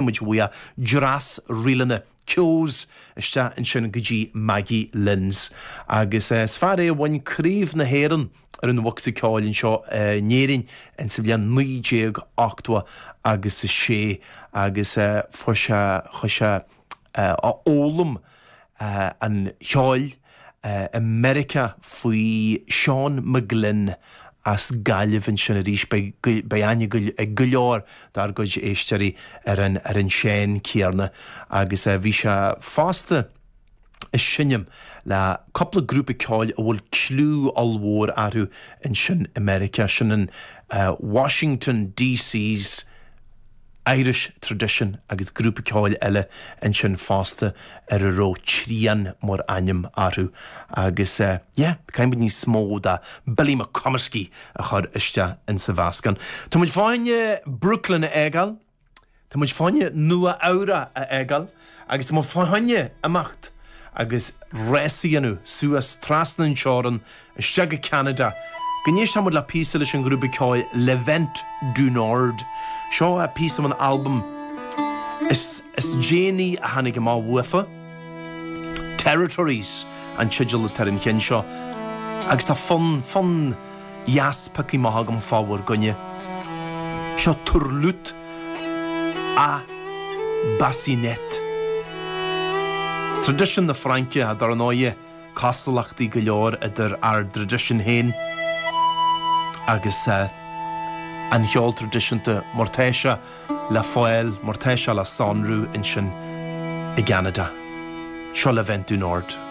Muid uaidh dreas ríleanna Keogh's isteach ansin go dtí Maggie Lynn's. Agus is fear é a bhain Craobh na hÉireann ar an bhocsa ceoil anseo in Éirinn insa bhliain 1980 agus a sé agus fuair sé, chuaigh sé a fhoghlaim an cheoil i Meiriceá faoi Seán McGlynn as Gaillimh ansin arís. Beidh aithne ag go leor dár gcuid éisteoirí ar an ar an Seán céanna agus bhí sé fosta ag seinm le cúpla grúpa ceoil a bhfuil cliú ollmhór orthu ansin i Meiriceá, sin an Washington DC's Irish Tradition agus grúpa ceoil eile ansin fosta ar a raibh Trian mar ainm orthu agus yeah, caithfidh muid níos mó de Billy McComiskey a chur isteach insa mheascán. Tá muid fá choinne Brooklyn a fhágáil, tá muid fá choinne Nua Eabhrac a fhágáil agus tá muid fá choinne imeacht agus rás a dhéanamh suas trasna an teorann Isteach go Ceanada go n-éistfidh muid le píosa leis an ghrúpa ceoil Le Vent du Nord. Seo píosa ón albam is is déanaí a tháinig amach uafa, Territories an teideal atá ar an cheann seo agus tá fonn, fonn dheas pioctha amach agam fá bhur gcoinne. Seo Turlute à Bassinette. Traidisiún na Fraince, dar ndóighe. cosúlachtaí go leor idir ár dtraidisiún féin agus an cheol traidisiúnta mar tá sé le fáil, mar tá sé le sonrú ansin i gCeanada. Seo Le Vent du Nord.